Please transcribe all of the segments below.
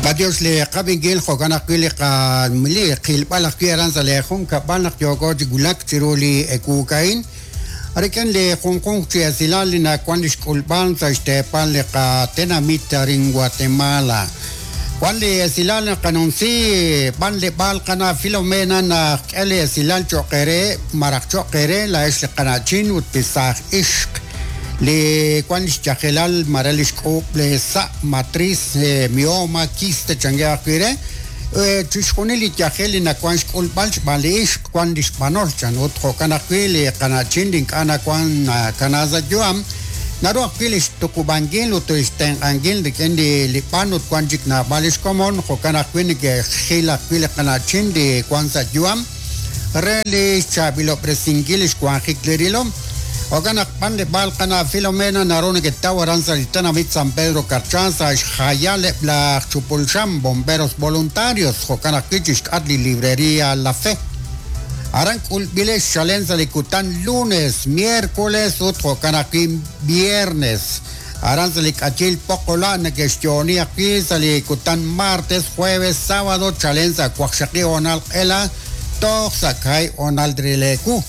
B'antiox li qab'inkil jo'kan ajwi' li qa li qilb'al ajwi' aran sa' lee junkab'al naq yooko chi wulak chiru li ewuuk a'in rik'in li junjunq chi esilal li nawan li xk'ulb'al sa' xteepal li qatenamit arin Guatemala. Wan li esilal naqanumsi b'anleb'aal qana' Filomena naqk'e li esilal cho'q eere maraj cho'q eere laa'ex li qana'chin ut li saaj ixq li wan li xyajelal mare li xk'uub' li sa' matriz, mioma, quiste chankeb' ajwi' re, chixjunil li yajel li nawan xk'ulb'al xb'aan li ixq wan li xb'anol chan ut jo'kan ajwi' li qana'chin li ink'a' nawan nakana sa' yu'am naru ajwi' li xtuqub'ankil ut xtenq'ankil rik'in li li b'an ut wan chik naab'al li xkomon jo'kan ajwi' neke'xjil ajwi' li qana'chin li wan sa' yu'am re li xchaab'ilob'resinkil li xwanjik li rilom. Jo'kan naq b'anleb'aal qana' Filomena naru neketaw aran sa' li tenamit San Pedro Carchá sa' xjayal eb' laj chupul xam, Bomberos Voluntarios, jo'kan ajwi' chi xk'atq li Librería La Fe. Aran k'ulb'ilex chalen sa' li kutan lunes, miércoles ut jo'kan ajwi' viernes. Aran sa' li k'ayil Poqola' neke'xyo'oni ajwi' sa' li kutan martes, jueves, sábado chalen sa' waqxaqib' hoonal q'ela toj sa' kaahib' hoonal re leewu.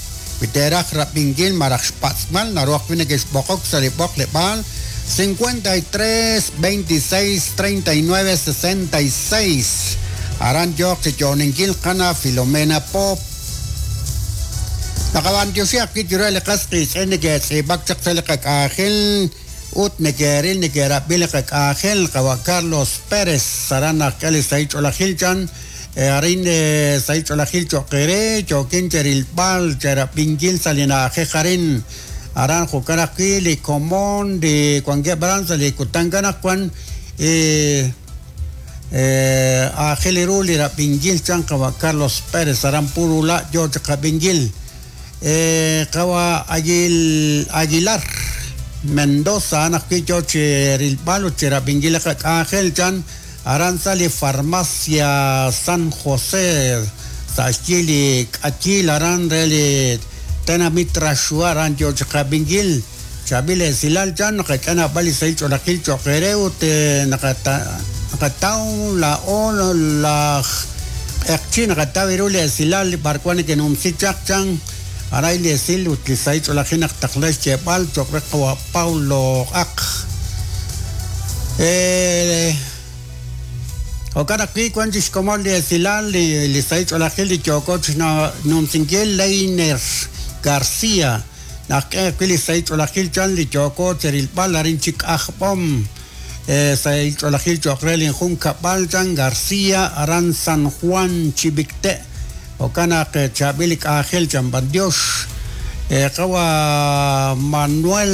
Wi teeraj rab'inkil malaj xpatz'b'al, naru ajwi' nekexb'oqok sa' li b'oqleb'aal 53 26 39 66. Aran yooq chi yo'oninkil qana' Filomena Pop. Naqab'antioxi ajwi' chiru li qas qiitz'in neke'tz'iib'ak chaq sa' li qak'anjel ut neke'ril neke'rab'i li qak'anjel, qawa' Carlos Pérez, aran naqk'e li sahil ch'oolejil chan. Arin sahil ch'oolejil cho'q eere, yookin cherilb'al, cherab'inkil sa' li na'ajej arin. Aran jo'kan ajwi' li komon li wankeb' aran sa' li kutan anaqwan aajel ru li rab'inkil chan qawa' Carlos Pérez aran Purula' yo chi qab'inkil. Qawa' Aguilar Mendoza a'an ajwi' yo chi rilb'al ut chi rab'inkil li qak'anjel chan. Aran sa' li Farmacia San José sa' xyi li k'ayiil aran re li tenamit Raxwa aran yo chi qab'inkil chaab'il esilal chan naqak'e naab'al li sahil ch'oolejil cho'q eere ut naqataw laa'o laj q'eqchi' naqataw ru li esilal li b'arwan neke'numsi chaq chan aran li esil ut li sahil ch'oolejil naq taqla xyeeb'al cho'q re qawa' Paulo Q'aq. Jo'kan ajwi' wan chi xkomon li esilal li sahil ch'oolejil li yooko chi xnumsinkil Leiner García naqk'e ajwi' li sahil ch'oolejil chan li yooko chi rilb'al arin chi K'ajb'om sahil ch'oolejil cho'q re linjunkab'al chan García aran San Juan Chivicte'. Jo'kan naq chaab'il li k'anjel chan b'antiox. Qawa' Manuel,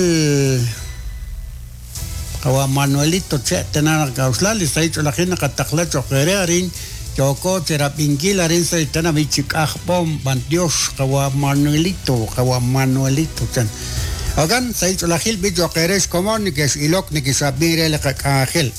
qawa' Manuelito che' tana naq k'a'uxla li sahil ch'oolejil naqataqla cho'q eere arin yooko cherab'inkil arin sa' li tenamit chi K'ajb'om b'antiox qawa' Manuelito, qawa' Manuelito chan. Jo'kan sahil ch'oolejil b'i cho'q eere xkomon nekex'ilok nekex'ab'in re li qak'anjel.